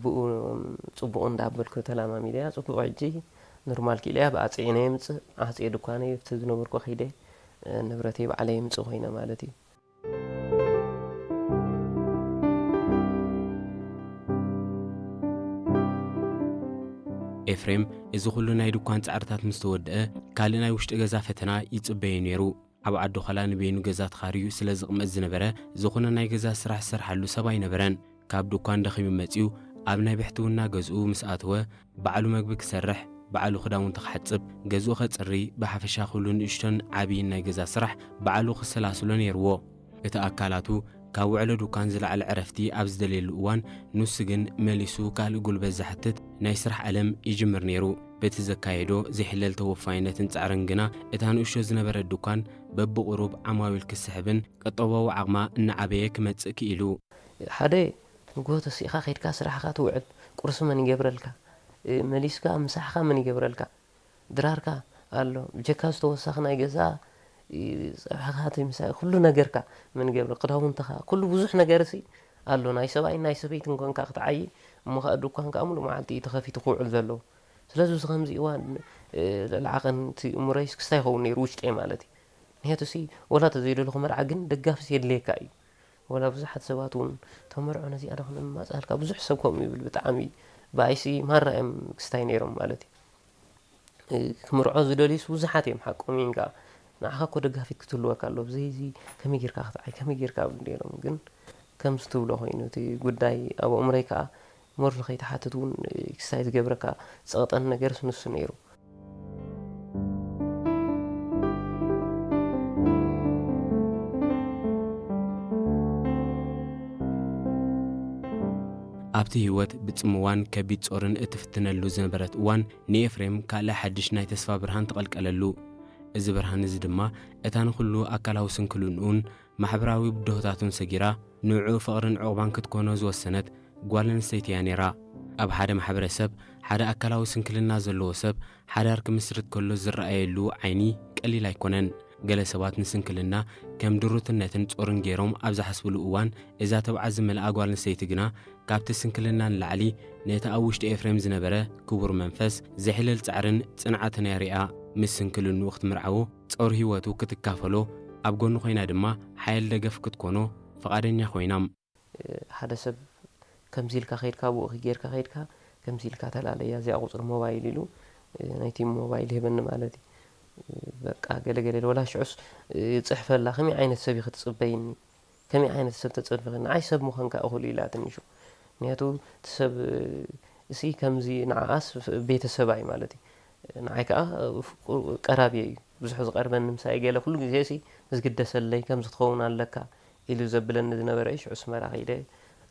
ብኡ ጽቡቕ እንዳበልኩ ተላማሚደያ ጽቡቕ። ሕጂ ኖርማል ክኢለያ ብኣጽዒነ የምጽእ ኣጽየ ድኳነይ ኣብቲ ዝነበርኩ ከይደ ንብረተይ ባዕለይ የምጽእ ኮይነ ማለት እዩ። ኤፍሬም እዚ ኩሉ ናይ ድኳን ጻዕርታት ምስ ተወድአ ካልእ ናይ ውሽጢ ገዛ ፈተና ይጽበዮ ነይሩ። ኣብ ዓዲ ዃላ ንበይኑ ገዛ ተኻርዩ ስለ ዝቕመጥ ዝነበረ ዝኾነ ናይ ገዛ ስራሕ ዝሰርሓሉ ሰብ ኣይነበረን። ካብ ድኳን ደኺሙ መጺኡ ኣብ ናይ ብሕትውና ገዝኡ ምስ ኣተወ ባዕሉ መግቢ ክሰርሕ፣ ባዕሉ ክዳውንቲ ክሓጽብ፣ ገዝኡ ከጽሪ፣ ብሓፈሻ ኩሉ ንእሽቶን ዓብይን ናይ ገዛ ስራሕ ባዕሉ ክሰላስሎ ነይርዎ። እቲ ኣካላቱ ካብ ውዕሎ ድኳን ዝለዓለ ዕረፍቲ ኣብ ዝደልየሉ እዋን ንሱ ግን መሊሱ ካልእ ጉልበት ዝሓትት ናይ ስራሕ ዓለም ይጅምር ነይሩ። በቲ ዘካየዶ ዘይሕለል ተወፋይነትን ጻዕርን ግና እታ ንእሽቶ ዝነበረት ድኳን በብቑሩብ ዓማዊል ክስሕብን ቀጠባዊ ዓቕማ እናዓበየ ክመጽእ ክኢሉ። ሓደ ንግሆ ተሲእኻ ከይድካ ስራሕኻ ትውዕል፣ ቁርሲ መን ይገብረልካ? መሊስካ ምሳሕኻ መን ይገብረልካ? ድራርካ ኣሎ፣ ብጀካ ዝተወሰኽ ናይ ገዛ ጸብሕኻ ምሳይ ኩሉ ነገርካ መን ይገብረ? ክዳውንትኻ ኩሉ ብዙሕ ነገር ሲ ኣሎ፣ ናይ ሰብኣይን ናይ ሰበይትን ኮንካ ክትዓይ እሞ ከዓ ድኳን ከዓ ሙሉእ መዓልቲ እዩ ተኸፊቱ ክውዕል ዘለዎ። ስለዚ እዚ ከምዚ እዋን ልዕሊ ዓቐን እቲ እምሮይስ ክስታይ ይኸውን ነይሩ ውሽጠይ ማለት እዩ። ምክንያቱ ሲ ወላ ተዘይደለኹ መርዓ ግን ደጋፊ የድልየካ እዩ። ወላ ብዙሓት ሰባት እውን ተመርዖ ነዚኣ ዶ ክነማፅኣልካ ብዙሕ ሰብ ከምኡ ይብል። ብጣዕሚ ብኣይሲ ማራ እዮም ክስታይ ነይሮም ማለት እዩ። ክምርዖ ዝደልዩስ ብዙሓት እዮም ሓቆም እዮም ከዓ። ንዓኻ እኮ ደጋፊት ክትህልወካ ኣለዎ። ብዘይዚ ከመይ ጌርካ ክትዓይ ከመይ ጌርካ እንዲሎም ግን ከምዚ ትብሎ ኮይኑ እቲ ጉዳይ ኣብ ኣእምሮይ ከዓ ሞር ንኸይትሓትት እውን ክስታይ ዝገብረካ ዝፀቕጠኒ ነገርስ ንሱ ነይሩ። ኣብቲ ህይወት ብጽምዋን ከቢድ ጾርን እትፍትነሉ ዝነበረት እዋን ንኤፍሬም ካልእ ሓድሽ ናይ ተስፋ ብርሃን ተቐልቀለሉ። እዚ ብርሃን እዚ ድማ እታ ንኹሉ ኣካላዊ ስንክልንኡን ማሕበራዊ ብድሆታቱን ሰጊራ ንዕኡ ፍቕርን ዕቑባን ክትኮኖ ዝወሰነት ጓል ኣንስተይቲ እያ ነይራ። ኣብ ሓደ ማሕበረሰብ ሓደ ኣካላዊ ስንክልና ዘለዎ ሰብ ሓዳር ክምስርት ከሎ ዝረኣየሉ ዓይኒ ቀሊል ኣይኮነን። ገለ ሰባት ንስንክልና ከም ድሩትነትን ጾርን ገይሮም ኣብ ዝሓስብሉ እዋን እዛ ተብዓት ዝመልኣ ጓል ኣንስተይቲ ግና ካብቲ ስንክልና ንላዕሊ ነቲ ኣብ ውሽጢ ኤፍሬም ዝነበረ ክቡር መንፈስ ዘሕልል ጻዕርን ጽንዓትን እያ ሪኣ ምስ ስንክልንኡ ክትምርዓዎ ጾር ህይወቱ ክትካፈሎ ኣብ ጎኑ ኮይና ድማ ሓይል ደገፍ ክትኮኖ ፍቓደኛ ኮይና። ሓደ ሰብ ከምዚ ኢልካ ከይድካ ብኡ ጌርካ ከይድካ ከምዚ ኢልካ ተላለያ እዚኣ ቁፅሪ ሞባይል ኢሉ ናይቲ ሞባይል ሂበኒ ማለት እዩ። በቃ ገለገለ ወላ ሽዑስ ይፅሕፈላ ከመይ ዓይነት ሰብ እዩ ክትፅበይኒ ከመይ ዓይነት ሰብ ተፀበኺ ንዓይ ሰብ ምዃንካ እኹል ኢላ ትንሹ ምክንያቱ እቲ ሰብ እሲ ከምዚ ንዓኣስ ቤተሰባይ ማለት እዩ ንዓይ ከዓ ቀራብየ እዩ ብዙሕ ዝቐርበኒ ምሳይ ገለ ኩሉ ግዜ እሲ ዝግደሰለይ ከምዚ ክትኸውን ኣለካ ኢሉ ዘብለኒ ዝነበረ እዩ። ሽዑ ኣስመራ ከይደ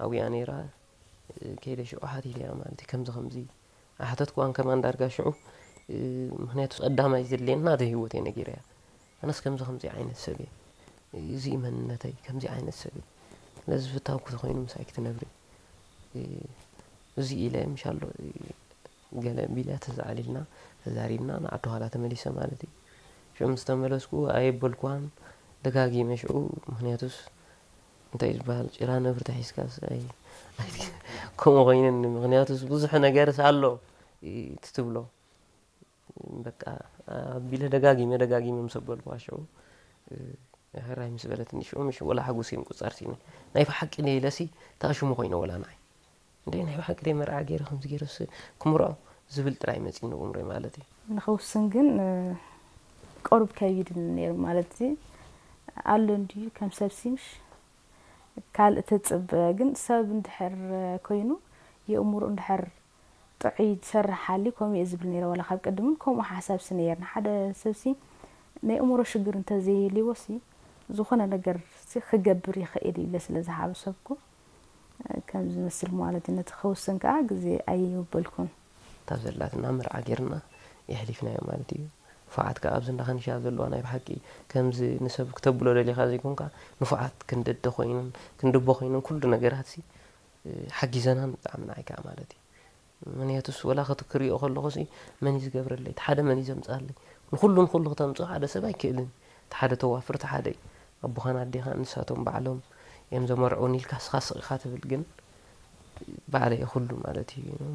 ኣብያ ነይራ። ከይደ ሽዑ ሓቲተያ ማለት እዩ። ከምዚ ከምዚ ኣሕተትክዋን ከማን ዳርጋ ሽዑ ምክንያቱ ቀዳማይ ዘድልየኒ ናተይ ህይወት እየ ነጊረያ። ኣነስ ከምዚ ከምዚ ዓይነት ሰብ እየ። እዚ እዩ መንነተይ፣ ከምዚ ዓይነት ሰብ እየ። ስለዚ ፍታውኪ ተኾይኑ ምሳይ ክትነብሪ እዚ ኢለ ምሻሎ ገለ ቢላ ተዛዕሊልና ተዛሪብና ንዓዲ ኋላ ተመሊሰ ማለት እዩ። ሽዑ ምስ ተመለስኩ ኣየበልኩዋን ደጋጊመ ሽዑ ምክንያቱስ እንታይ ዝበሃል ጭራ ነብሪ ተሒዝካስ ኣይ ከምኡ ኮይነኒ ምክንያቱስ ብዙሕ ነገርስ ኣሎ ትትብሎ በቃ ኣቢለ ደጋጊመ ደጋጊመ ምስ ኣበልኩዋ ሽዑ ሕራይ ምስ በለትኒ ሽዑ ምሽ ወላ ሓጎሰይ ምቁፃር ሲነ ናይ ብሓቂ ነይለሲ ታሽሙ ኮይነ ወላ ንዓይ እንደ ናይ ብሓቂ ደይ መርዓ ገይረ ከምዚ ገይረስ ክምርዖ ዝብል ጥራይ መፂኒ ኣእምሮይ ማለት እዩ። ንኸውስን ግን ቆሩብ ከቢድ ነይሩ ማለት እዩ። ኣሎ እንድዩ ከም ሰብ ሲምሽ ካልእ ተፅበ ግን ሰብ እንድሕር ኮይኑ የእምሮ እንድሕር ጥዑይ ዝሰርሕ ሓልዩ ከምኡ እየ ዝብል ነይረ ዋላ ካብ ቅድም እውን ከምኡ ሓሳብ ሲ ነየርኒ ሓደ ሰብ ሲ ናይ እምሮ ሽግር እንተዘይህልዎ ሲ ዝኾነ ነገር ሲ ክገብር ይኽእል እዩ ኢለ ስለ ዝሓሰብኩ ከም ዝመስል ማለት እዩ ነቲ ክውስን ከዓ ግዜ ኣይወበልኩን እታ ዘላትና መርዓ ጌርና የሕሊፍናዮ ማለት እዩ ንፉዓት ከዓ ኣብዚ እንዳ ከንሻ ዘለዋ ናይ ብሓቂ ከምዚ ንሰብ ክተብሎ ደሊኻ ዘይኮንካ ንፉዓት ክንዲ ኣደ ኮይነን ክንዲ ኣቦ ኮይነን ኩሉ ነገራት ሲ ሓጊዘናን ብጣዕሚ ንዓይ ከዓ ማለት እዩ ምክንያቱስ ወላ ከቲ ክሪኦ ከለኹ ሲ መን እዩ ዝገብረለይ እቲ ሓደ መን እዩ ዘምፅኣለይ ንኩሉ ንኩሉ ክተምፅኦ ሓደ ሰብ ኣይክእልን እቲ ሓደ ተዋፍር እቲ ሓደ እዩ ኣቦኻን ኣዴኻን ንሳቶም ባዕሎም እዮም ዘመርዕውን ኢልካ ስኻ ስቕ ኢኻ ትብል ግን ባዕለይ ኩሉ ማለት እዩ።